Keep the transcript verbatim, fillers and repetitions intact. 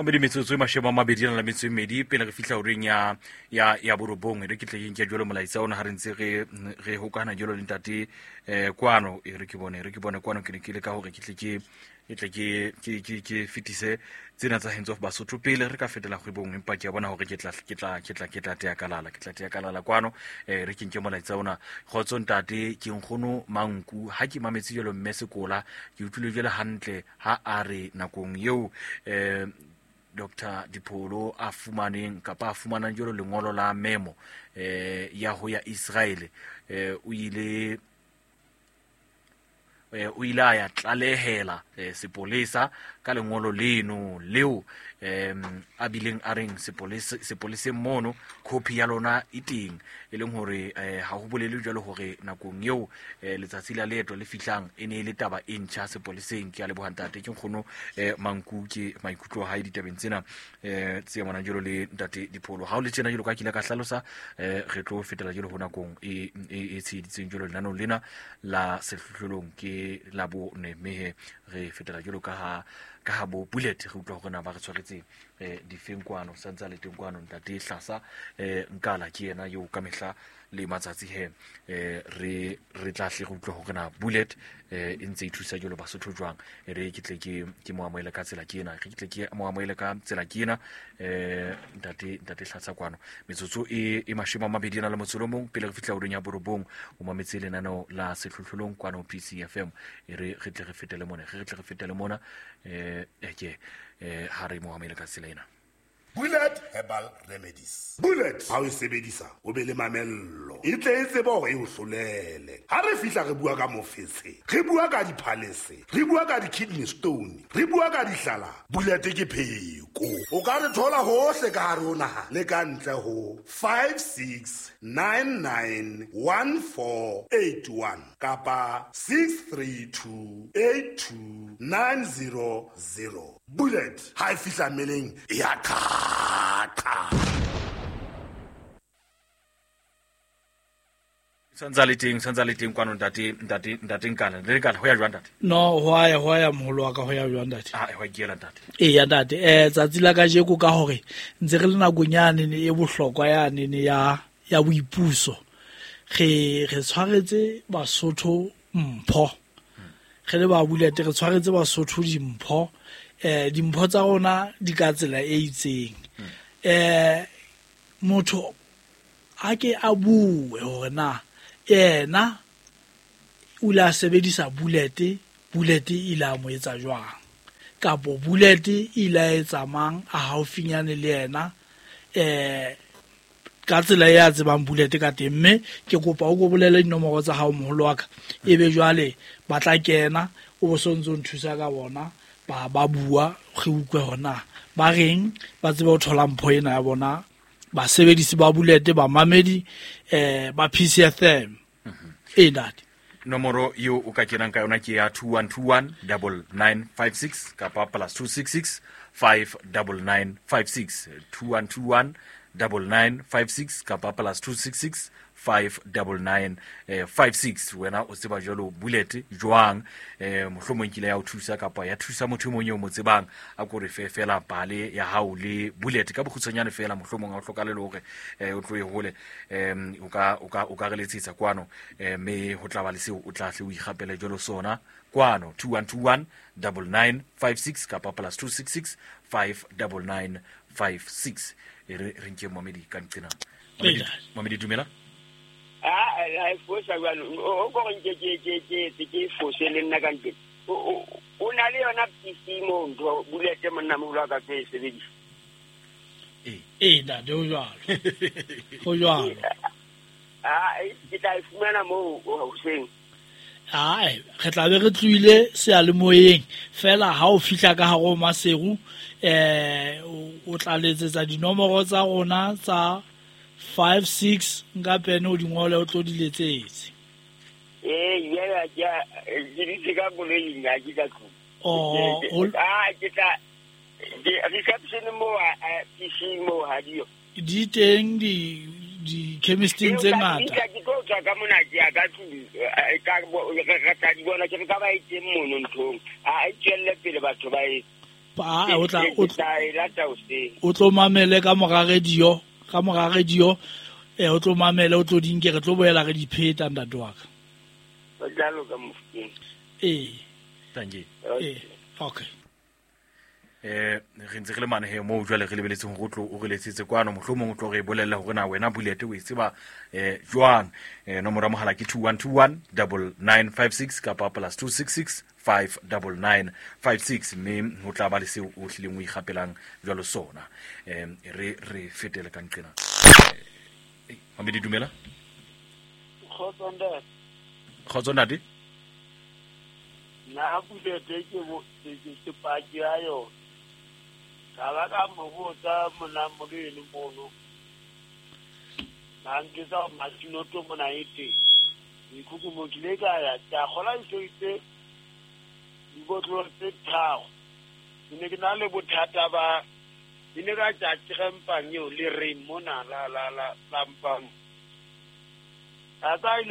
Mamedi metsotso e mashome a mabedi a nang le metso e mmedi pele re fihla horeng ya ya ya borobong. E re ke tle ke nke jwalo molaetsa ona ha re ntse re re hokahana jwalo le ntate eh kwano. E re ke bone, e re ke bone kwano ke ne ke le ka hore ke tle ke ke tle ke ke ke ke fetise tsena tsa Hands Off Basotho pele re ka fetela kgwebong, empa ke a bona hore ke tla ke tla ke tla ke tla tea kalala, ke tla tea kalala kwano. Eh re ke nke molaetsa ona. Kgotso ntate, ke nkgono Manku. Ha ke mametse jwalo mme Sekola, ke utlwile jwale hantle ha a re nakong eo eh Doctor Dipholo a fumaneng kapa a fumanang jwalo lengolo la memo eh ya ho ya Israel, eh o ile eh o ile a ya tlalehela eh, sepolesa ka lengolo leno leo em a bileng a reng sepolesa sepoleseng mono copy ya lona e teng, e leng hore eh, ha ho bolele jwalo hore nakong eo eh, letsatsi la leeto le fihlang e ne e le taba e ntjha sepoleseng. Ke a leboha ntate, ke nkgono eh, Manku, ke maikutlo a hae ditabeng tsena eh, tse amanang jwalo le ntate Dipholo. Ha o le tjena jwalo ka ke ile ka hlalosa eh, re tlo fetela jwalo ho nakong e, e, e tsheheditseng jwalo lenaneong lena la sehlohlolong ke la bone, mme he re fetela jwalo ka ha ka ha bo Bullet re utlwa hore na ba re tshwaretse eh difeng kwano, santse a le teng kwano ntate Hlasa eh Nkala ke yena eo ka mehla le matsatsi he eh re re tla hle re utlwa hore na Bullet eh e ntse e thusa jwalo Basotho jwang. E re ke tle ke ke mo amohele ka tsela ke ena, re ke tle ke mo amohele ka tsela ke ena eh ntate ntate Hlasa kwano. Metsotso e e mashome a mabedi a nang le motso o le mong pele re fihla horeng ya borobong. O mametse lenaneo la sehlohlolong kwano P C F M. E re re tle re fetele mona, re tle re fetele mona eh ke eh ha re mo amohele ka tsela ena. Bullet Herbal Remedies. Bullet ha o e sebedisa o be le mamello, e tle e tsebe hore e o hlolele. Ha re fihla re bua ka mofetshe, re bua ka diphalese, re bua ka di-kidney stone, re bua ka dihlala. Bullet ke pheko. O ka re thola hohle ka hare ho naha le ka ntle ho five six nine nine one four eight one kapa six three two eight two nine zero zero. Bullet ha e fihla mmeleng e ya qhaqa. Santsa le teng, santsa le teng kwano ntate, ntate, ntate Nkala. Le Nkala, ho ya jwang ntate? No, ho ya, ho ya moholo wa ka, ho ya jwang ntate? Ah, ho ya kela ntate. Eya ntate, eh tsatsi la kajeko ka hore ntse re le nakong yane ne e bohlokwa yane ne ya ya boipuso. Re re tshwaretse Basotho mpho. Re le ba Bullet re tshwaretse Basotho dimpho. Eh dimpho tsa rona di ka tsela e itseng. Eh motho a ke a bue hore na yena o la sebedisa Bullet, Bullet e ile a mo etsa jwang, kapo Bullet e ile a etsa mang a haufinyane le yena eh ka tsela e a tsebang Bullet ka teng. Mme ke kopa o ko bolele dinomoro tsa hao moholo wa ka, ebe jwale ba tla kena o bo sontso nthusa ka bona ba ba bua re utlwe hore na ba reng, ba tsebe ho thola mpho ena ya bona basebedisi ba Bullet, ba mamedi eh ba P C F M. E ntate, nomoro eo o ka kenang ka yona ke ya two one two one double nine five six kapa plus two six six five double nine five six, two one two one double nine five six kapa plus two six six five double nine five six. Wena o tseba jwalo Bullet jwang, eh mohlomong kile ya o thusa kapa ya thusa motho e mong eo mo tsebang, a ko re fe fela pale ya hao le Bullet ka bokgutshwanyane fela, mohlomong ha o hlokale le hore eh o tlohe hole, em o ka o ka o ka re letsetsa kwano, eh mme ho tla ba le seo o tla hle o ikgapele jwalo sona kwano two one two one double nine five six kapa plus two six six five double nine five six. E re re nke Momedi ka nqena. Momedi dumela. Ah, a fosa jwalo o go nke ke ke ke ke fose le nna ka ntle. O na le yona P C mo ntho Bullet monna moholo ka ke sebedisa. Eh, eh ntate ho jwalo. Ho jwalo. Ah, ke tla e fumana moo hoseng. Ai, re tla be re tlohile seyalemoyeng fela ha o fihla ka hare ho Maseru eh o tla letsetsa dinomoro tsa rona tsa five six nka pene o di ngole o tlo di letsetse. Eh yela ke ke ditse ka koloing ha ke ka tlung. Oh, ah ke tla reception mo P C mo ha dio. Di teng di di chemisteng tse ngata. Ke tlo tswa ka mona ke ya ka tlung ka re tla di bona ke re ka ba e teng mono nthong. A e tswelle pele batho ba e. A o tla o tla e lata hoseng. O tlo mamele ka mora radio, ka mora radio eh o tlo mamele o tlo di nke re tlo boela re di pheta ntate wa ka. O tla loka Mofokeng. Eh. Thank you. Eh, okay. Eh re ntse re le mane he mo jwale re lebeletseng hore o tlo o re letsetse kwano mohlomong o tlo re bolella hore na wena Bullet o e tseba eh jwang. Eh nomoro ya mohala ke two one two one nine nine five six kapa plus two six six five nine nine five six mme ho tla ba le seo o hlileng o ikgapelang jwalo sona. Eh re re fetele ka nqena. Eh Mamedi dumela. Kgotso ntate. Kgotso ntate. Nna Bullet ke bo ke paki ya yona. Ka ba ka mo botsa mona moleno mono. Ba nketsa masinoto mona e teng. Mekhukhu mo kile ka ya ka kgola ntho dibotlolo tse tharo. Ke ne ke na le bothata ba ke ne ka tja krempang eo le reng mona la la la la mpang. A tsa ile